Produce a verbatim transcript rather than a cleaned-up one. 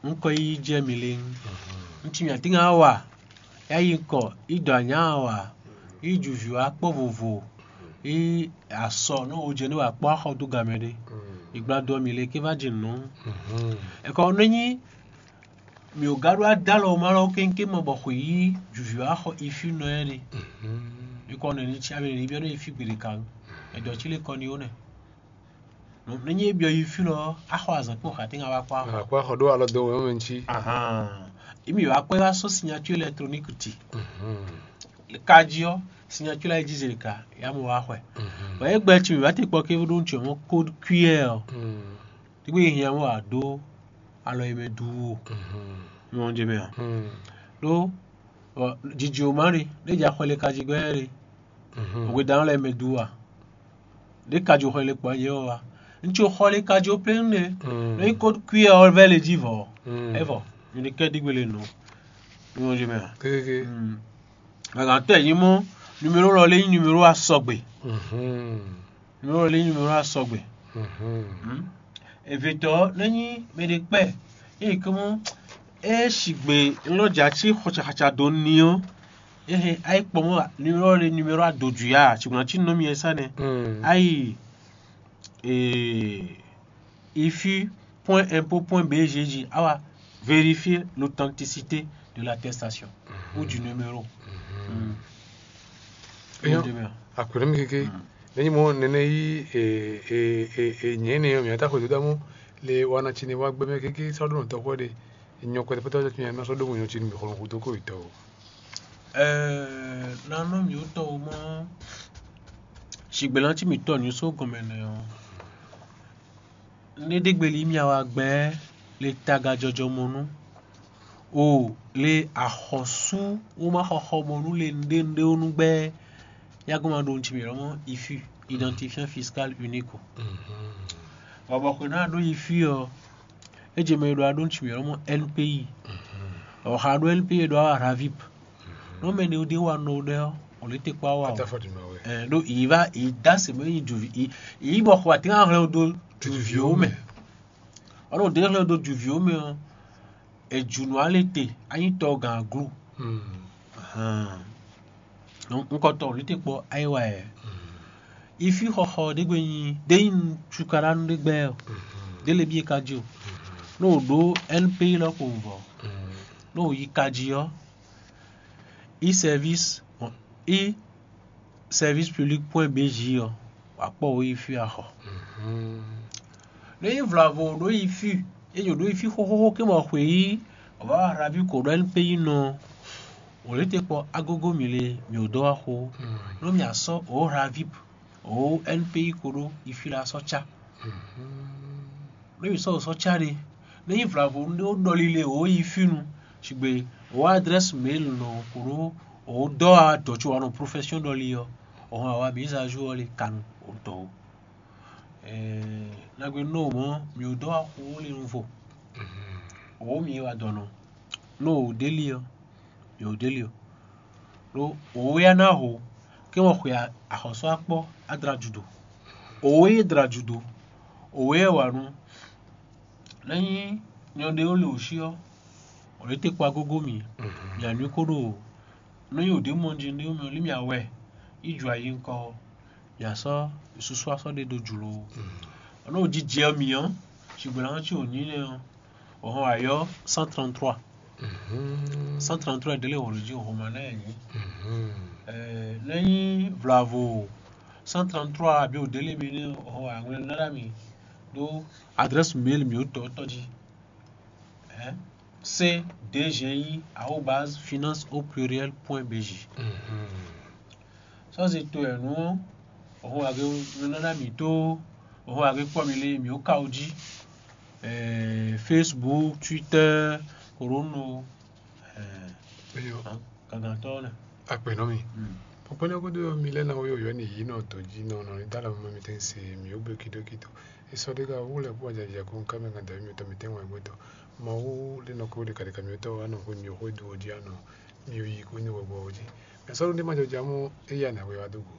Un kɔ yi jɛ mi le. Un ci mi atín wa, ya yi kɔ, yi dɔ anya wa, yi ju vǐ wa kpɔ vovo, yi asɔ nɔ wo jɛ ne wa kpɔ axɔ dó gamɛ ɖe. Yi gbla dɔ mi le ké va jɛ nɔ. Ɛkɔ ne nyi mi ò ga ɖó adalɔ ma lɔ kéŋké ma bɔ xwe yi ju vǐ wa xɔ ifi nɔ yɛ ɖe. Mi kɔ ne ni ci abɛ ni biɔ ne ifi gbeɖe kan. Ɛdɔ ci le kɔ ni wo nɛ. Ne nyi e byɔ yi fí lɔ, axɔ azǎn kpɔ́n xatínga wá kpɔ́ axɔ. Akpɔ́ axɔ ɖó alɔ dó wɛn mɛ ŋutsi. Ahan. Imi wá kpɔ́ wá sɔ́ signature électronique ti. Kají ɔ́, signature la yi jí zeli ka, ya mɔ wá xwɛ. Bɔn e gbɛ tsi mi wá ti kpɔ ké ɖó ŋutsu mɔ code Q R ɔ́. Tí gbé hiã mɔ wá dó alɔ yi mɛ duu o. Mi mɔ jɛ mɛ a? Ɖó jiji o ma ɖe, ɖé dza xɔ le kají gbɛ ɖe. Òwe dan lɛ mɛ duu a? Ɖé kají xɔ le kpɔ yɛ wa. Ŋutsu xɔ le kají o plein ne. Ɖó yi code Q R ɔ́ vɛ le jí vɔ. Evɔ, mi ɖe kɛ ɖi gbele nɔ. Mi mɔ jɛ mɛ a? Kékéké. Gǎgán tɛ nyí mɔ, numéro lɔ lé nyí numéro asɔgbe. Numéro lé nyí numéro asɔgbe. Evetɔ ne nyí mɛ ɖe kpɛ, eye kɔmɔ e sigbe lɔ dza ci xɔcaxɔca do ni ɔ́, ehe ayi kpɔ mɔ numéro lé numéro adodwi a, sigbe na ci nɔ mi ɛ sa nɛ. Ayi ee ifi point impôt point B G G awa vérifier l'authenticité de l'attestation ou du numéro. Eyɔn, akwɛnɛ mi kéké. Nenyi mɔ nɛnɛ yí e e e e nyɛ ne yɔ mi ata xwe dodo amɔ le wana tsi ne wa gbɛmɛ kéké sɔ ɖo nɔtɔ xɔ ɖe. Nyɔ kɔtɛ pɛtɛ tsi ne ma sɔ ɖo nyɔ tsi ne mi xɔlɔ kudo ko itɔ o. Ɛɛ, nanɔ mi wotɔ o mɔ. Sigbela tsi mi tɔ ni so gɔmɛ nɛ o. Ne ɖe gbeli mi awa gbɛ le taga jɔjɔmɔnu o le axɔsu wo ma xɔxɔ mɔnu le nɖe nɖe wo nu gbɛ. Yago ma ɖo ŋutsu mi lɔmɔ ifi, identifiant fiscal unique o. Bɔbɔ xwe na ɖo ifi ɔ, edze mɛ ɖo aɖo ŋutsu mi lɔmɔ N P I. Ɔxa ɖo N P I ɖo awa ravip. Nɔ mɛ ne ɖe wa nɔ ɖe ɔ, o le te kpa wa o. Ɛ ɖo yi va yi da se mɛ yi juvi yi yi bɔ xɔ ati hã hlɛn do juviwo mɛ. Ɔlɔ ɖe hlɛn do juviwo mɛ ɔ, ejunu ale te anyi tɔ gan aglu. Ahan. Donc ŋkɔtɔ o le te kpɔ ayi wa yɛ. Ifi xɔxɔ ɖe gbe nyi ɖe nyi cukaɖanu ɖe gbɛ ɔ. Ɖe le bi e ka ji o. N'o ɖo N P I lɔ ko vɔ. N'o yi ka ji ɔ. I service i service public point B J ɔ, wǎ kpɔ wǒ yi fí axɔ. Ɖó yi vlavo ɖó yi fí, é jǒ ɖó yi fí xóxóxó ké mɔ xwě yí, wǎ wá hraví ko ɖó N P I nɔ, wǒ lě te kpɔ agógó mǐ le, mǐ wǒ dó wá xó. Nú mǐ asɔ́ wǒ hraví wǒ N P I ko ɖó yi fí la sɔ́ cá. Ɖó yi sɔ́ wǒ sɔ́ cá ɖe, nú yi vlavo ɖó ɖɔli le wǒ yi fí nu, sigbe wǒ adrɛ́si mail nɔ ko ɖó wǒ dɔ́ wá dɔ̌ co wa nɔ profɛ́syɔn ɖɔli ɔ́, wǒ hɔn wǎ wá mise à jour ɔ́ le kanu wǒ dɔ̌ wǒ. Nagbe nɔ mɔ̌ mǐ wǒ dɔ́ wá xó le nu vo. Wǒ mǐ wa dɔ̌ nɔ. Nú wǒ ɖe li ɔ́, mǐ wǒ ɖe li ɔ́. Ɖó wǒ wɛ ná ho, ké wɔ xwe axɔ́sú akpɔ́ adra judo. Wǒ wɛ dra judo. Wǒ wɛ wa nu. Nɛ́ nyí nyɔ ɖé wó le wǒ sí ɔ́, wǒ lě te kpa gógó mǐ. Mǐ anú kó ɖo nú nyi wǒ ɖé mɔ jí ɖé mɛ lí mǐ awɛ, yi ju ayi ŋkɔ ɔ́, mǐ asɔ́ susu asɔ́ ɖé ɖo jlǒ. Ɔ́ nɔ jijɛ mǐ ɔ́, sigbla ɔ́ cí wǒ nyí nɛ́ ɔ́, wǒ hɔn ayɔ cent trente-trois. Cent trente-trois ɖé lé wǒ jí wǒ hɔn ma nɛ́ nyí. Nɛ́ nyí vlavo cent trente-trois abǐ wǒ ɖé lé mi nɛ́ wǒ hɔn aŋwlɛ nɔ ná mi ɖó adrɛ́si mail mǐ wǒ tɔ́ tɔ́ jí. C D G I arobase finance au pluriel point B J. Sɔ́ se to ɛ nú òhun age nɔ́ ná mǐ tó òhun age kpɔ́ mi lé mǐ ó ka ó jí. Facebook, Twitter, Corono, Eyɔ, gangantɔ́ nɛ. Akpɛnɔ mi. Kpɔkpɔ́ ní ɔ́ gúdo ɔ́, mi lɛ́ ná wɛ yɔ̌yɔ́ n'i yǐ nɔ dǒ jí nɔ nɔ ní dó alɔ mɛ mitɔn se mǐ ó gbe kídókídó. È sɔ́ ɖé ká wú lɛ́ kpó ajaja kó ká mɛ gán dǎwe mitɔn mitɛ́ wɛn gbɛtɔ́. Mawu lé nɔ kó ɖe kaɖeka mitɔn wá nɔ xwe mi xwé dó jí anɔ mi yi kó ní wɛgbɔ jí. Mɛ sɔ́ ɖó ní ma jɔ jamɔ éyɛ́ anɛ wɛ wá dó go.